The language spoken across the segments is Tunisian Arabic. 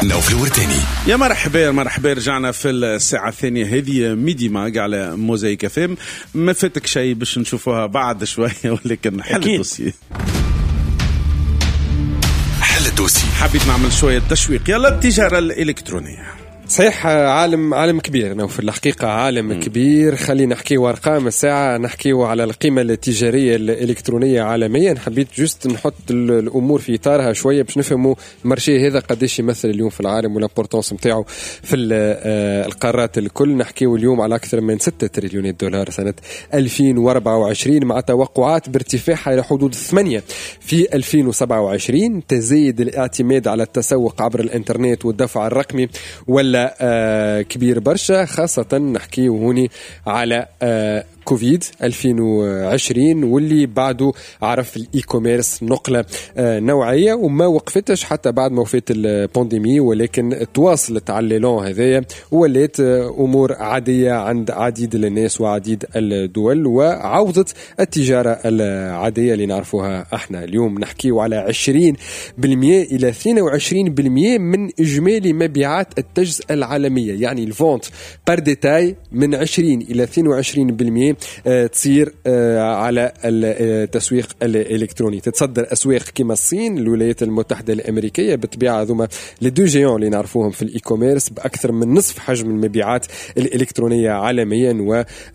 نوفل ورتاني. يا مرحبا مرحبا، رجعنا في الساعة الثانية هذه Midi Mag على Mosaïque FM. ما فاتك شيء باش نشوفوها بعد شوية، ولكن حل ال dossier، حل ال dossier. حبيت نعمل شوية تشويق. يلا التجارة الإلكترونية. صحيح، عالم كبير نوفل، الحقيقة عالم كبير. خلينا نحكيو أرقام الساعة، نحكيو على القيمة التجارية الإلكترونية عالميا. حبيت juste نحط الأمور في إطارها شوية باش نفهموا ال marché هذا قداش يمثل اليوم في العالم وال importance نتاعو في القارات الكل. نحكيو اليوم على أكثر من 6 تريليونات دولار سنة 2024، مع توقعات بارتفاعها إلى حدود 8 في 2027. تزايد الاعتماد على التسوق عبر الإنترنت والدفع الرقمي ولا كبير برشا، خاصة نحكي هوني على كوفيد 2020 واللي بعده عرف ال e-commerce نقلة نوعية وما وقفتش حتى بعد ما وفات ال pandémie، ولكن تواصلت على l'élan هذايا ولات أمور عادية عند عديد الناس وعديد الدول، وعوضت التجارة العادية اللي نعرفوها احنا اليوم. نحكيو على 20% إلى 22% من إجمالي مبيعات التجزئة العالمية، يعني ال vente par détail من 20 إلى 22% تصير على التسويق الإلكتروني. تتصدر أسواق كما الصين، الولايات المتحدة الأمريكية بالطبيعة، ذوما les deux géants اللي نعرفوهم في ال e-commerce بأكثر من نصف حجم المبيعات الإلكترونية عالميا.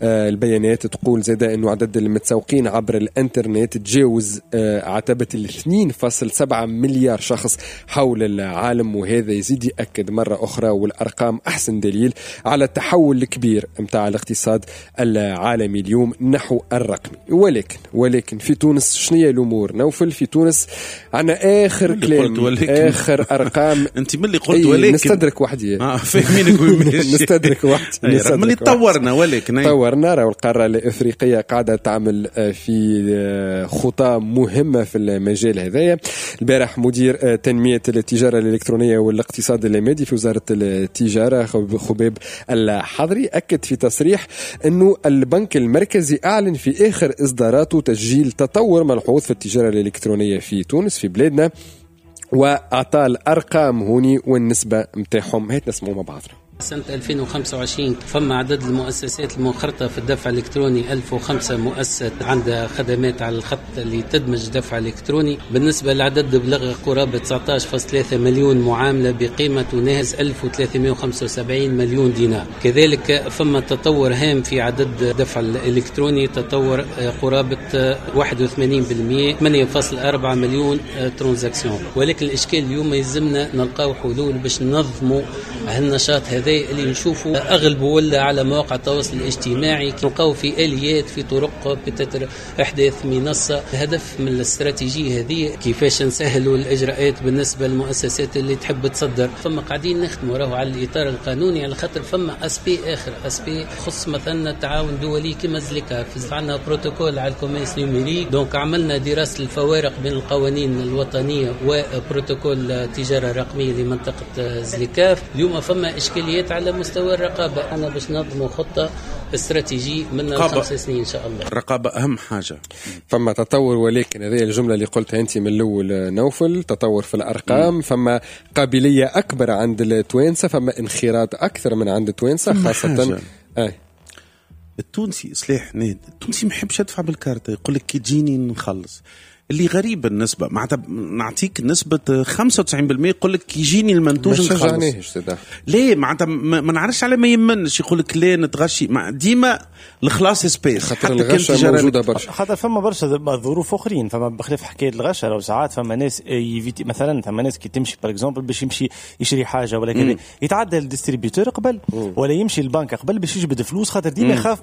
والبيانات تقول زادة أنه عدد المتسوقين عبر الإنترنت تجاوز عتبة 2.7 مليار شخص حول العالم، وهذا يزيد يأكد مرة أخرى والأرقام أحسن دليل على التحول الكبير متاع الاقتصاد العالمي اليوم نحو الرقمي. ولكن في تونس شنية الأمور نوفل؟ في تونس عنا آخر كلام، آخر أرقام. أنت من اللي قلت ولكن نستدرك وحدي. فاهمينك نستدرك وحدي. من اللي طورنا، ولكن طورنا. راهو القارة الإفريقية قاعدة تعمل في خطى مهمة في المجال هذايا. البارح مدير تنمية التجارة الإلكترونية والاقتصاد المادي في وزارة التجارة خبيب الحضري أكد في تصريح أنه البنك المركزي أعلن في آخر إصداراته تسجيل تطور ملحوظ في التجارة الإلكترونية في تونس في بلادنا، وأعطى الأرقام هوني والنسبة متاعهم. هات نسمعوا مع بعضنا. سنة 2025 فما عدد المؤسسات المنخرطة في الدفع الإلكتروني 1005 مؤسسة عندها خدمات على الخط اللي تدمج دفع إلكتروني. بالنسبة للعدد بلغ قرابة 19.3 مليون معاملة بقيمة تناهز 1375 مليون دينار. كذلك فما تطور هام في عدد الدفع الإلكتروني، تطور قرابة 81%، 8.4 مليون transaction. ولكن الإشكال اليوم يلزمنا نلقاو حلول باش ننظموا هالنشاط هذا اللي نشوفوا أغلبه ولا على مواقع التواصل الاجتماعي، نلقاو في آليات في طرق بتتر إحداث منصة. الهدف من الاستراتيجية هذه كيفاش نسهلوا الإجراءات بالنسبة للمؤسسات اللي تحب تصدر. فما قاعدين نخدموا راهو على الإطار القانوني، على خاطر فما aspect آخر، aspect خص مثلا التعاون دولي كما ZLECAf، عندنا بروتوكول على ال commerce numérique. donc عملنا دراسة الفوارق بين القوانين الوطنية وبروتوكول التجارة الرقمية لمنطقة ZLECAf. اليوم فما إشكاليات على مستوى الرقابة. أنا باش ننظم خطة استراتيجية من 5 سنين إن شاء الله. الرقابة أهم حاجة. فما تطور، ولكن هذه الجملة اللي قلتها أنت من الأول نوفل، تطور في الأرقام، فما قابلية أكبر عند التوانسة، فما انخراط أكثر من عند التوانسة خاصة. التونسي سلاح ناد، التونسي ما يحبش يدفع بالكارتة، يقول لك كي تجيني نخلص. اللي غريب النسبة، معناتها نعطيك نسبة 95% يقول لك يجيني المنتوج نخلص. ليه؟ معناتها ما نعرفش على ما يمنش، يقول لك ليه نتغشي. ديما الخلاص espèces، خاطر الغشة موجودة برشا، خاطر فما برشا ظروف أخرين. فما بخلاف حكاية الغشة، لو ساعات فما ناس éviter، مثلا فما ناس كي تمشي par exemple باش يمشي يشري حاجة ولا كذا، يتعدى ال distributeur قبل ولا يمشي البنك قبل باش يجبد فلوس، خاطر ديما يخاف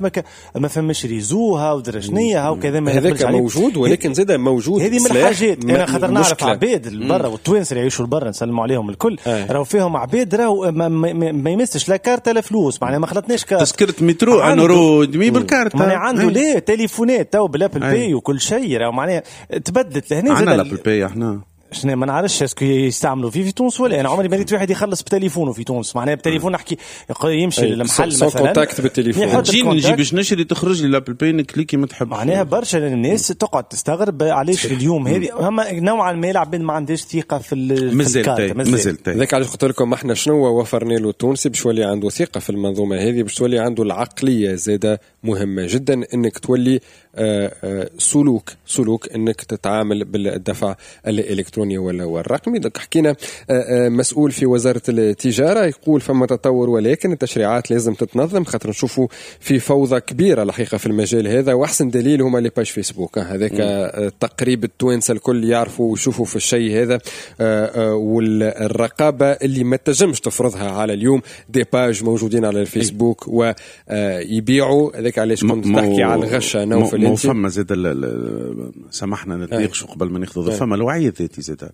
ما فماش réseau ها ودرشنية ها وكذا. ما هذاك موجود، ولكن زاد موجود. هذه من الحاجات. انا خاطر نعرف عباد برا والتوانسه اللي يعيشوا برا نسلموا عليهم الكل، راهو فيهم عباد راهو ما يمسش لا كارت لا فلوس، معناها ما خلطناش كارت، تذكره مترو un euro demi بالكارت، معناها عنده ليه تليفونات تو بال Apple Pay وكل شيء، راهو معناها تبدلت لهنا. عندنا ال Apple Pay احنا شنو ما نعرفش est-ce que يستعملوا فيه في تونس ولا. انا عمري ما ريت واحد يخلص بتليفونه في تونس، معناها بتليفون نحكي يمشي للمحل مثلا contact بالتليفون، نجي باش نشري تخرج لي l'Apple Pay نكليكي ما تحب. معناها برشا الناس تقعد تستغرب علاش اليوم هذه هما نوعا ما العباد ما عندهاش ثقة في الكارت. مازال ذاك علاش قلت لكم احنا شنو وفرنا له التونسي باش يولي عنده ثقة في المنظومة هذه، باش تولي عنده العقلية زاده مهمة جدا انك تولي سلوك انك تتعامل بالدفع الالكتروني ولا والرقمي. donc حكينا مسؤول في وزارة التجارة يقول فما تطور ولكن التشريعات لازم تتنظم، خاطر نشوفوا في فوضى كبيرة الحقيقة في المجال هذا، واحسن دليل هما les pages Facebook، هذاك تقريب التوانسة الكل يعرفوا ويشوفوا في الشيء هذا، والرقابه اللي ما تنجمش تفرضها على اليوم des pages موجودين على الفيسبوك ويبيعوا. هذاك علاش كنت تحكي على الغشه نوفل. انت فما زاد سامحنا نتناقشوا قبل ما ناخذ، فما الوعي الذاتي زاد.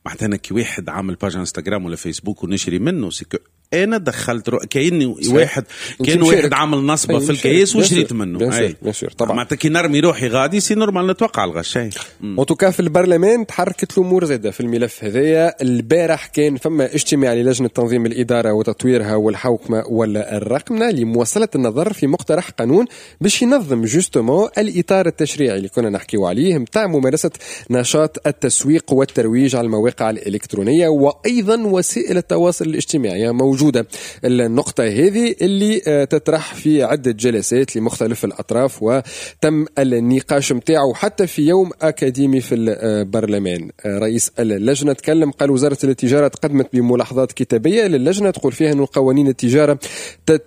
معناتها انا كي واحد عامل page انستغرام ولا فيسبوك ونشري منه، c'est que انا دخلت كأني واحد كان واحد عامل نصبه في الكياس وشريت منه. bien sûr طبعا. معناتها كي نرمي روحي غادي c'est normal نتوقع الغش. en tout cas في البرلمان تحركت الامور زاده في الملف هذايا. البارح كان فما اجتماع للجنة تنظيم الادارة وتطويرها والحوكمه والرقمنه لمواصلة النظر في مقترح قانون باش ينظم justement الاطار التشريعي اللي كنا نحكيو عليه نتاع ممارسة نشاط التسويق والترويج على المواقع الالكترونية وايضا وسائل التواصل الاجتماعي. موجودة النقطة هذه اللي تطرح في عدة جلسات لمختلف الأطراف وتم النقاش متاعه حتى في يوم أكاديمي في البرلمان. رئيس اللجنة تكلم قال وزارة التجارة تقدمت بملاحظات كتابية للجنة تقول فيها أن قوانين التجارة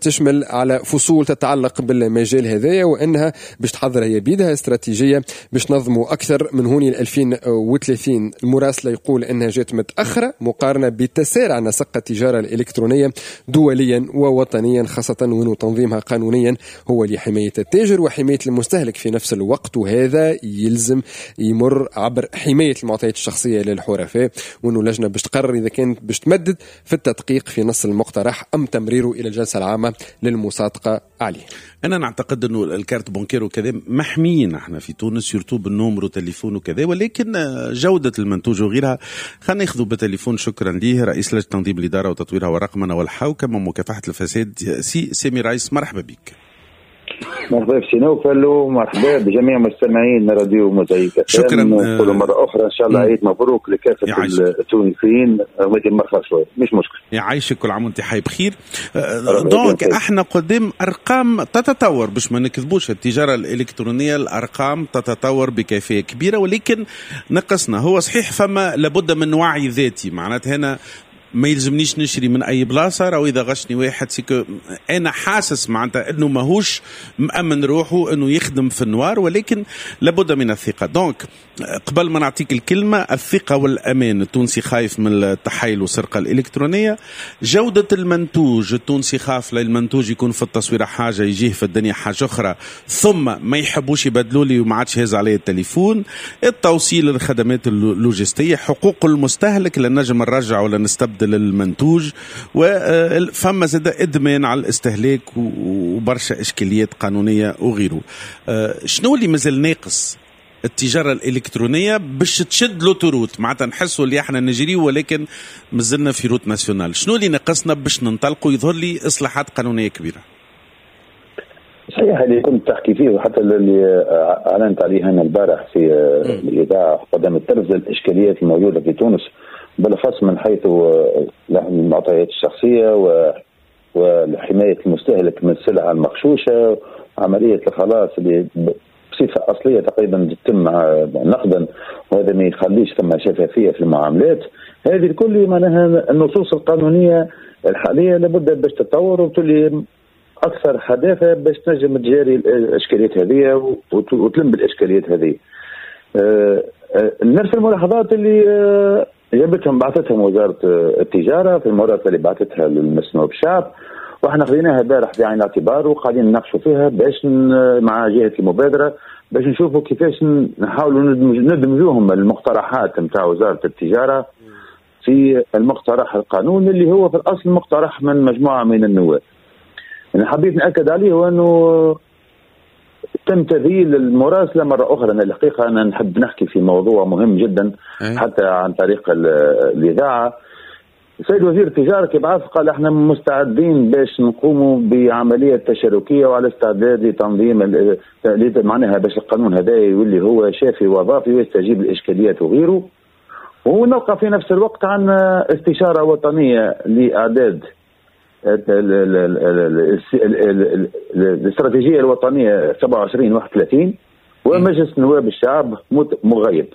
تشمل على فصول تتعلق بالمجال هذايا، وأنها باش تحضر هي بيدها استراتيجية باش تنظموا أكثر من هوني 2030. المراسلة يقول أنها جات متأخرة مقارنة بتسارع نسق التجارة الإلكترونية دوليا ووطنيا، خاصة وأنه تنظيمها قانونيا هو لحماية التاجر وحماية المستهلك في نفس الوقت، وهذا يلزم يمر عبر حماية المعطيات الشخصية للحرفاء، وأنه اللجنة باش تقرر إذا كانت باش تمدد في التدقيق في نص المقترح أم تمريره إلى الجلسة العامة للمصادقة عليه. أنا نعتقد أنه ال carte bancaire وكذا محميين احنا في تونس surtout بال numéro téléphone وكذا، ولكن جودة المنتوج وغيرها خلينا ناخذوا بالتليفون. شكرا ليه رئيس لجنة تنظيم الإدارة وتطويرها والرقمنة والحوكمة ومكافحة الفساد سي سامي رايس، مرحبا بك. مرحبا بسي نوفل ومرحبا بجميع مستمعين راديو موزايك. شكرا. نقول مرة أخرى إن شاء الله عيد مبروك لكافة التونسيين، ولكن مرحبا شوية مش مشكل. يعيشك كل عام وأنت حي بخير. donc احنا قدام أرقام تتطور باش ما نكذبوش، التجارة الإلكترونية الأرقام تتطور بكيفية كبيرة، ولكن نقصنا. هو صحيح فما لابد من وعي ذاتي، معناتها هنا ما يلزمنيش نشري من اي بلاصة، راهو اذا غشني واحد c'est que انا حاسس معناتها انه ماهوش مامن روحه انه يخدم في ال noir، ولكن لابد من الثقة. donc قبل ما نعطيك الكلمة، الثقة والامان، التونسي خايف من التحايل والسرقة الالكترونية، جوده المنتوج التونسي خاف للمنتوج يكون في التصويره حاجة يجيه في الدنيا حاجة اخرى، ثم ما يحبوش يبدلوا لي وما عادش هز علي التليفون، التوصيل للخدمات اللوجستية، حقوق المستهلك لا نجم نرجع ولا نستبدل المنتوج، وفما زاد ادمان على الاستهلاك وبرشا اشكاليات قانونية وغيره. شنو اللي مازال ناقص التجارة الالكترونية باش تشد l'autoroute؟ معناتها نحسوا اللي احنا نجري ولكن مازلنا في route nationale. شنو اللي ناقصنا باش ننطلقوا؟ يظهر لي اصلاحات قانونية كبيرة. صحيح اللي كنت تحكي فيه وحتى اللي اعلنت عليه انا البارح في الاذاعة قدام التلفزة، الاشكاليات الموجودة في تونس بالأخص من حيث المعطيات الشخصية وحماية المستهلك من السلع المغشوشة، عملية الخلاص اللي بصفة أصلية تقريبا تتم نقدا، وهذا ما يخليش ثم شفافية في المعاملات هذه الكل. معناها النصوص القانونية الحالية لابد باش تتطور وتولي أكثر حداثة باش تنجم تجاري الإشكاليات هذه وتلم بالإشكاليات هذه. نفس الملاحظات اللي جابتهم بعثتهم وزارة التجارة في المراسلة اللي بعثتها للمسنوب الشعب، واحنا خذيناها البارح بعين الاعتبار وقاعدين نناقشوا فيها باش مع جهة المبادرة باش نشوفوا كيفاش نحاولوا ندمجوهم المقترحات نتاع وزارة التجارة في المقترح القانون اللي هو في الأصل مقترح من مجموعة من النواب. أنا حبيت نأكد عليه هو أنه تم تذييل المراسله مرة اخرى. انا الحقيقة انا نحب نحكي في موضوع مهم جدا حتى عن طريق الاذاعة. السيد وزير التجارة كي بعث قال احنا مستعدين باش نقوموا بعملية تشاركيه وعلى استعداد لتنظيم معناها باش القانون هذا يولي هو شافي وظافي ويستجيب للاشكاليات وغيره. ونلقى في نفس الوقت عن استشاره وطنية لاعداد الاستراتيجية الوطنية 27-31 ومجلس نواب الشعب مغيب.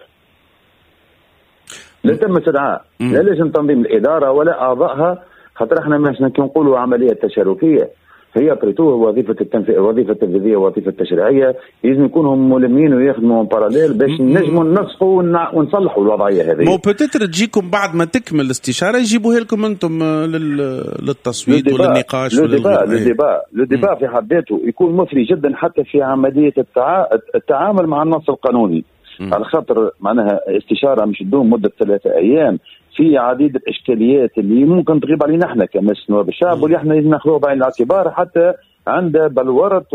لا تم استدعاء لا لجنة تنظيم الادارة ولا اعضائها، خاطر احنا مش كي نقولوا عملية تشاركيه هي après tout وظيفة التنفيذ، وظيفة التنفيذية وظيفة التشريعية، لازم يكونوا ملمين ويخدموا parallèle باش نجموا ننسقوا ونصلحوا الوضعية هذه. mais peut-être تجيكم بعد ما تكمل الاستشارة يجيبوها لكم انتم للتصويت وللنقاش. le débat في حد ذاته يكون مثري جدا حتى في عملية التعامل مع النص القانوني. على خاطر معناها استشاره مش تدوم مده 3 ايام في عديد الاشكاليات اللي ممكن تغيب علينا احنا كمجلس نواب الشعب، واللي احنا لازم ناخذوها بعين الاعتبار حتى عند بلورة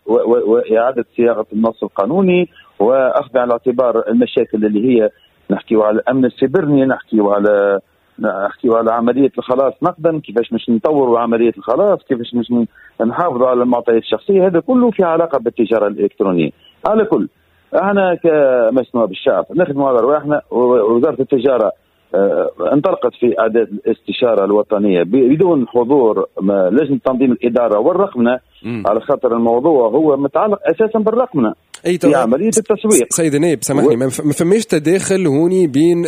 واعاده صياغة النص القانوني، واخذ على الاعتبار المشاكل اللي هي نحكيو على الامن السيبرني، نحكيو على عملية الخلاص نقدا، كيفاش مش نطوروا عملية الخلاص، كيفاش مش نحافظوا على المعطيات الشخصية، هذا كله في علاقة بالتجارة الالكترونية. على كل احنا كمجلس نواب الشعب نخدموا على رواحنا. وزارة التجارة انطلقت في اعداد الاستشارة الوطنية بدون حضور لجنة تنظيم الادارة والرقمنه، على خاطر الموضوع هو متعلق اساسا بالرقمنه في عملية التسويق. سيد النائب سامحني، ما فماش تداخل هوني بين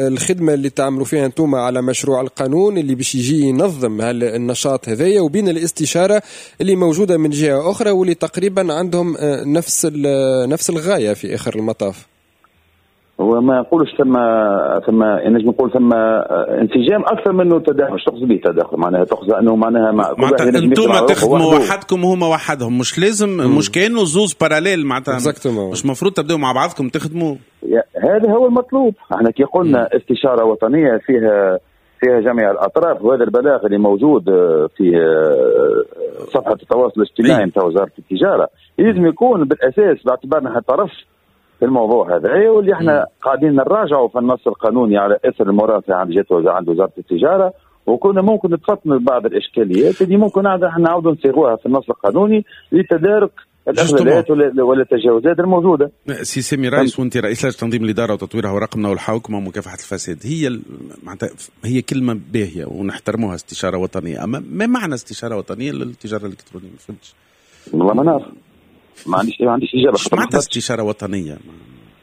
الخدمة اللي تعملوا فيها انتم على مشروع القانون اللي باش يجي ينظم النشاط هذايا، وبين الاستشارة اللي موجودة من جهة اخرى واللي تقريبا عندهم نفس الغاية في اخر المطاف؟ هو ما نقولش ثم نجم نقول ثم انسجام اكثر منه تداخل. تقصد به تداخل معناها تقصد انه معناها انتم تخدموا وحدكم وهما وحدهم، مش لازم مش كانوا زوز parallèles معناتها، مش مفروض تبداوا مع بعضكم تخدموا. هذا هو المطلوب. احنا كي قلنا استشاره وطنية فيها جميع الاطراف، وهذا البلاغ اللي موجود في صفحة التواصل الاجتماعي نتاع وزارة التجارة لازم يكون بالاساس باعتبارنا طرف في الموضوع هذا، واللي احنا قاعدين نراجعوا في النص القانوني على اثر المرافعه عند جهة عند وزارة التجارة، وكنا ممكن نتفطن لبعض الاشكاليات اللي ممكن احنا نعاودوا نصيغوها في النص القانوني لتدارك الاخلالات ولا التجاوزات الموجودة. سي سامي رايس، وانت رئيس لجنة تنظيم الادارة وتطويرها ورقمنا والحوكمه ومكافحه الفساد، هي معناتها هي كلمة باهيه ونحترموها، استشاره وطنية، اما ما معنى استشاره وطنية للتجارة الالكترونية؟ ما فهمتش والله، ما نعرف، ما عنديش اجابه. معناتها استشاره وطنية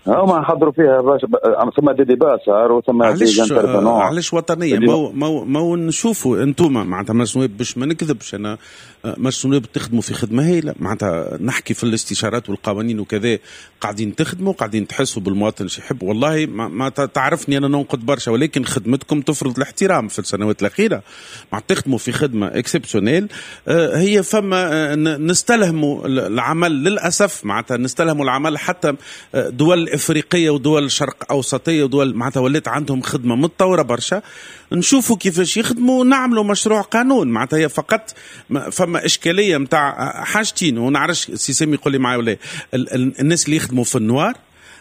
هما حضروا فيها باش ثم des débats صار وثم des intervenants. علاش وطنية؟ ما نشوفوا انتم معناتها مجلس النواب، باش ما نكذبش انا، مجلس النواب تخدموا في خدمة هايلة، معناتها نحكي في الاستشارات والقوانين وكذا، قاعدين تخدموا، قاعدين تحسوا بالمواطن شي يحب. والله ما تعرفني انا ننقد برشا، ولكن خدمتكم تفرض الاحترام في السنوات الاخيرة، مع تخدموا في خدمة exceptionnelle. هي فما نستلهموا العمل للاسف، معناتها نستلهموا العمل حتى دول افريقية ودول شرق اوسطية ودول معناتها ولات عندهم خدمة متطورة برشا، نشوفوا كيفاش يخدموا ونعملوا مشروع قانون. معناتها هي فقط فما اشكالية نتاع حاجتين، ونعرفش سي سامي يقول لي معايا ولا الناس اللي يخدموا في ال noir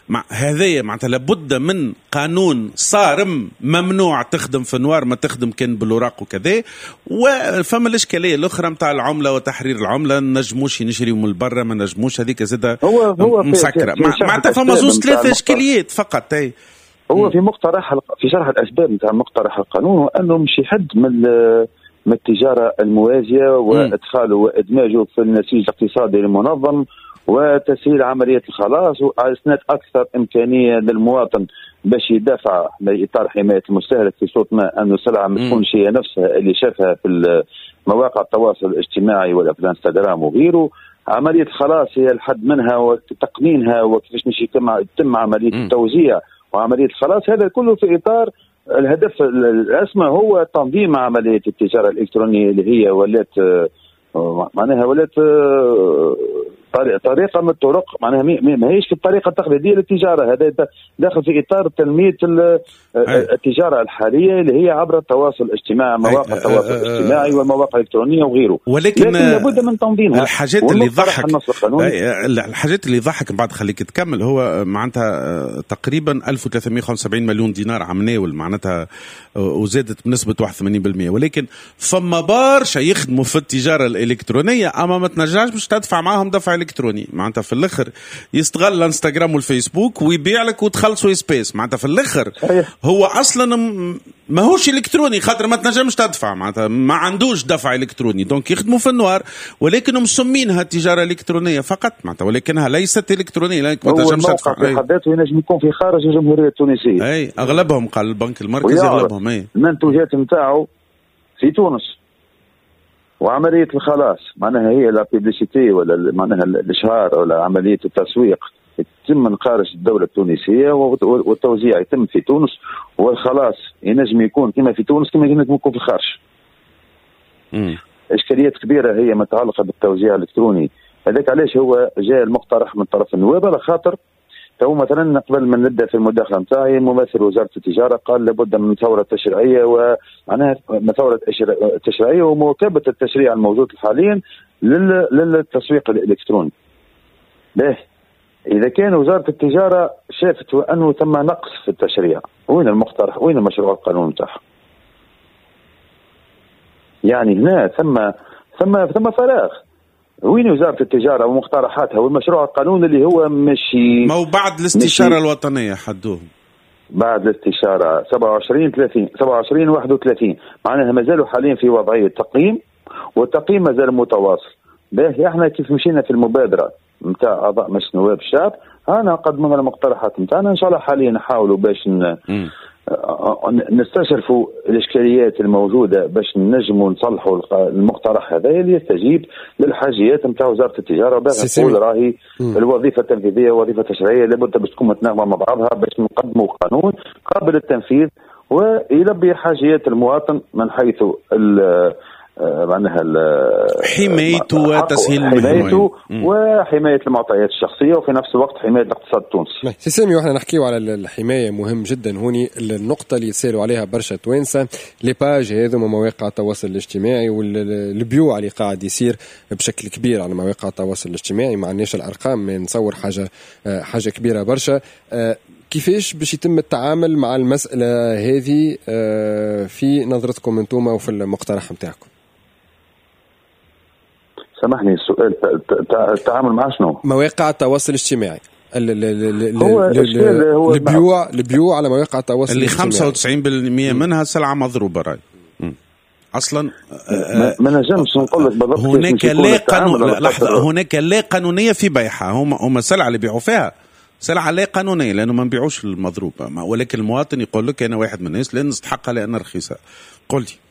مع هذايا، معناتها لابد من قانون صارم، ممنوع تخدم في ال noir، ما تخدم كان بالوراق وكذا. وفما الاشكالية الاخرى نتاع العملة وتحرير العملة، نجموش نشريو من برا، ما نجموش، هذيك زاده هو مسكره. معناتها فما زوز ثلاثة اشكاليات فقط. هو في مقترح، في شرح الاسباب نتاع مقترح القانون، انه مش يحد من التجارة الموازيه وادخاله وادماجه في النسيج الاقتصادي المنظم وتسهيل عملية الخلاص وإسناد أكثر إمكانية للمواطن باش يدافع إطار حماية المستهلك في صوت ما أنه السلعة ما تكونش هي نفسها اللي شافها في مواقع التواصل الاجتماعي ولا في الانستغرام وغيره. عملية الخلاص هي الحد منها وتقنينها وكيفاش مش يتم عملية التوزيع وعملية الخلاص، هذا كله في إطار الهدف الأسمى هو تنظيم عملية التجارة الإلكترونية اللي هي ولات معناها ولات طريقه من الطرق، معناها ماهيش في الطريقة التقليدية للتجارة. هذا داخل في اطار تنمية التجارة الحالية اللي هي عبر التواصل الاجتماعي، مواقع التواصل الاجتماعي والمواقع الالكترونية وغيره، ولكن لابد من تنظيمها. الحاجات اللي ضحك الحاجات اللي ضحك بعد خليك تكمل، هو معناتها تقريبا 1375 مليون دينار عمناول معناتها، وزادت بنسبة 81%، ولكن فما برشا يخدموا في التجارة الالكترونية اما ما تنجمش باش تدفع معاهم دفع الكتروني. معناتها في الاخر يستغل الانستغرام والفيسبوك ويبيع لك وتخلصوا espèces. معناتها في الاخر هو اصلا ماهوش الكتروني خاطر ما تنجمش تدفع، معناتها ما عندوش دفع الكتروني، donc يخدموا في ال noir، ولكن مسمينها التجارة الالكترونية فقط معناتها، ولكنها ليست الكترونية لانك ما تنجمش تدفع. في حد ذاته ينجم يكون في خارج الجمهورية التونسية. اي اغلبهم قال البنك المركزي اغلبهم اي المنتوجات نتاعو في تونس، وعملية الخلاص معناها هي la publicité ولا معناها الإشهار ولا عملية التسويق يتم من خارج الدولة التونسية، والتوزيع يتم في تونس، والخلاص ينجم يكون كما في تونس كما ينجم يكون في الخارج. إشكاليات كبيرة هي متعلقة بالتوزيع الإلكتروني. هذاك علاش هو جاء المقترح من طرف النواب، على خاطر تو مثلا قبل ما نبدا في المداخلة نتاعي ممثل وزارة التجارة قال لابد من ثورة تشريعية، ومعناها ثورة تشريعية ومواكبه التشريع الموجود حاليا للتسويق الالكتروني. باهي، اذا كان وزارة التجارة شافت انه ثم نقص في التشريع، وين المقترح؟ وين مشروع القانون نتاعها؟ يعني هنا ثم ثم ثم فراغ. وين وزارة التجارة ومقترحاتها والمشروع القانون اللي هو مشي؟ ما هو بعد الاستشارة الوطنية حدوه، بعد الاستشارة 27 30 27 31، معناها مازالوا حاليا في وضعية تقييم، والتقييم مازال متواصل. باهي، احنا كيف مشينا في المبادرة نتاع أعضاء مجلس نواب الشعب، انا قدمنا المقترحات نتاعنا، ان شاء الله حاليا نحاولوا باش نستشرفوا الاشكاليات الموجودة باش نجموا نصلحوا المقترح هذا اللي يستجيب للحاجيات نتاع وزارة التجارة. باش نقول راهي الوظيفة التنفيذية والوظيفة التشريعية لابد باش تكون متناغمه مع بعضها باش نقدموا قانون قابل للتنفيذ ويلبي حاجيات المواطن من حيث معناها حمايته وتسهيل حمايته وحماية المعطيات الشخصية، وفي نفس الوقت حماية الاقتصاد التونسي. سي سامي، واحنا نحكيو على الحماية مهم جدا هوني النقطة اللي يسالوا عليها برشا توانسة، les pages هذوما مواقع التواصل الاجتماعي والبيوع اللي قاعد يصير بشكل كبير على مواقع التواصل الاجتماعي، ما عندناش الارقام، نصور حاجة كبيرة برشا. كيفاش باش يتم التعامل مع المسالة هذه في نظرتكم انتم وفي المقترح نتاعكم؟ سامحني السؤال، التعامل مع شنو؟ مواقع التواصل الاجتماعي، البيوع على مواقع التواصل اللي 95% منها سلعة مضروبة. راي اصلا ما نجمش نقول لك بالضبط. هناك لا قانون، لحظة، هناك لا قانونية في بيعها. هم السلعة اللي بيعوا فيها سلعة لا قانونية لأنه ما نبيعوش المضروبة، ولكن المواطن يقول لك أنا واحد من الناس لا نستحقها لأنها رخيصة. قل لي.